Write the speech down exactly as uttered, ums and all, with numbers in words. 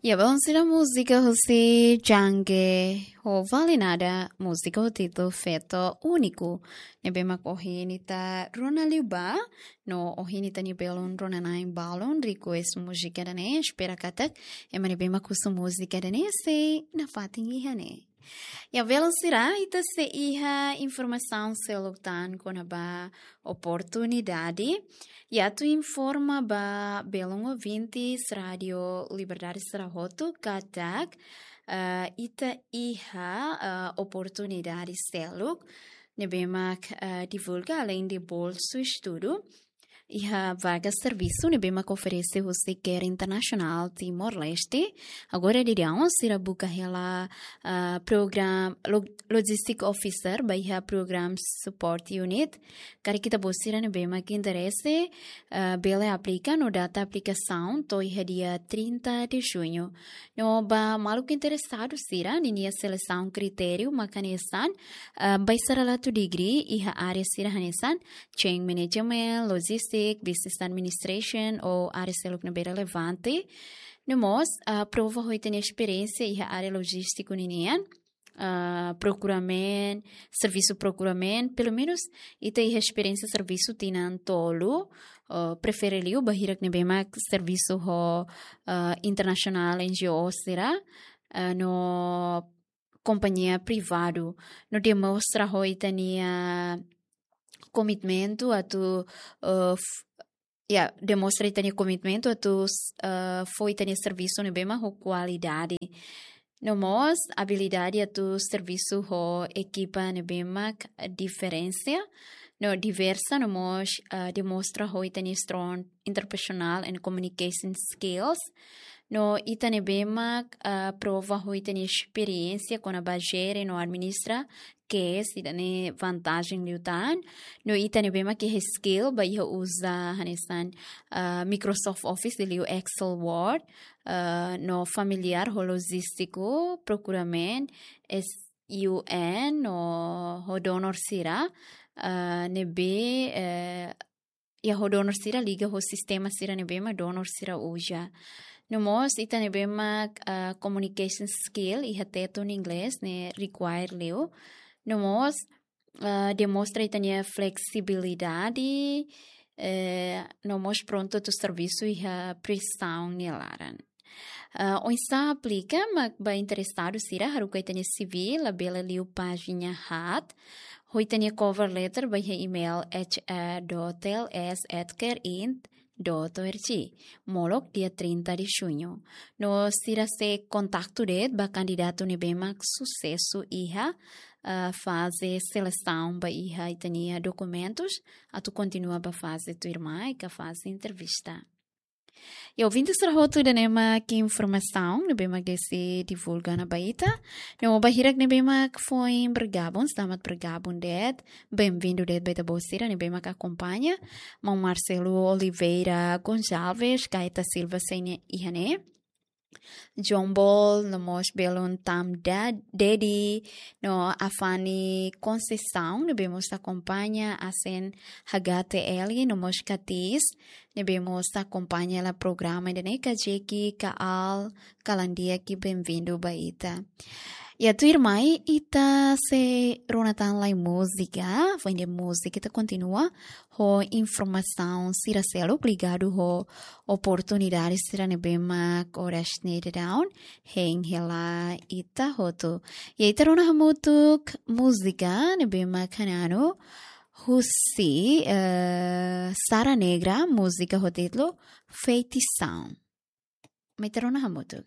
Ya, balun sira, múzika husi Djangge ho Vale Nada, múzika ho títulu Feto Úniku. Ne'ebé mak ohin ita rona liu ba, no ohin ita-nia belun rona-na'in balun request múzika ida-ne'e, espera katak ema ne'ebé mak husu múzika ida-ne'e sei nafatin iha ne'e. Ya, belun sira, ita sei iha informasaun seluk tan kona-ba oportunidade. Ya, atu informa ba belun ouvintes Rádio Liberdade sira hotu katak, eh, ita iha, eh, oportunidade seluk ne'ebé mak, eh, divulga alende bolsu estudu. Iha vaga servisu ne'ebé mak oferese husi CARE Internasionál Timor-Leste. Agora daudaun sira buka hela, ah, program lo-, Logistic Officer ba iha Program Support Unit. Karik ita-boot sira ne'ebé mak interese, ah, bele aplika no data aplikasaun to'o iha dia trinta de junho. No ba maluk interesadu sira, ninia selesaun kritériu mak hanesan, ah, ba sira atu degree iha área sira hanesan, chain management, logistic, business administration, ou área seluk ne'ebé relevante. No mós, ah, prova ho ita-nia esperiénsia iha área lojístiku ninian, ah, procurement, servisu procurement, pelumenus ita iha esperiénsia servisu tinan tolu, ah, prefere liu ba hirak ne'ebé mak servisu ho, ah, internasionál N G O sira, ah, no kompañia privadu. No demonstra ho ita-nia komitmentu atu, eh, f-, ya, demonstra ita-nia komitmentu atu, eh, fó ita-nia servisu ne'ebé mak ho kualidade. No mós abilidade atu servisu ho ekipa ne'ebé mak diferensia, no diversa, no mós, eh, demonstra ho ita-nia strong interpersonal and communication skills. No ita ne'ebé mak, ah, prova ho ita-nia esperiénsia kona-ba jere no administra case, ida-ne'e vantajen liután. No ita ne'ebé mak iha skill ba iha uza hanesan, ah, Microsoft Office liu Excel, Word, ah, no familiár ho lojístiku, procurement, S U N, no ho donor sira, ah, ne'ebé, eh, ya, ho donor sira liga ho sistema sira ne'ebé mak donor sira uza. No mós ita ne'ebé mak, ah, communication skill iha tetun inglés ne'e require liu. No mós, ah, demonstra ita-nia fleksibilidade, eh, no mós prontu atu servisu iha presaun nia laran. Ah, oinsá aplika, mak ba interesadu sira haruka ita-nia C V, labele liu pájina haat, ho ita-nia cover letter ba iha email H R dot L S at care int dot O R G. Molok dia trinta de junho. No sira sei kontaktu de'it ba kandidatu ne'ebé mak susesu iha, ah, faze selesaun ba iha ita-nia dokumentus, atu kontinua ba faze tuirmai ka faze entrevista. Ya, ouvintes sira hotu, ida-ne'e mak informasaun ne'ebé mak sei divulga ona ba ita. No ba hirak ne'ebé mak foin bergabung, selamat bergabung de'it. Bem-vindo de'it ba ita-boot sira ne'ebé mak akompaña. Maun Marcelo Oliveira Gonçalves, Gaeta Silva sei iha ne'e. Jombol, no mós belun Tam Da-, Dedi, no Afani Conceição, ne'ebé mós akompaña, asen H T L, no mós Katis, ne'ebé mós akompaña hela programa ida-ne'e, kajeki, kaal, kalan di'ak, bem-vindo ba ita. Ya, tuirmai, ita sei rona tan lai múzika, foin de múzika ita kontinua ho informasaun sira seluk ligadu ho oportunidade sira ne'ebé mak oras ne'e daudaun hein hela ita hotu. Ya, ita rona hamutuk múzika ne'ebé mak hananu husi, eh, Sara Negra, múzika ho títulu Feitição. Mai ita rona hamutuk.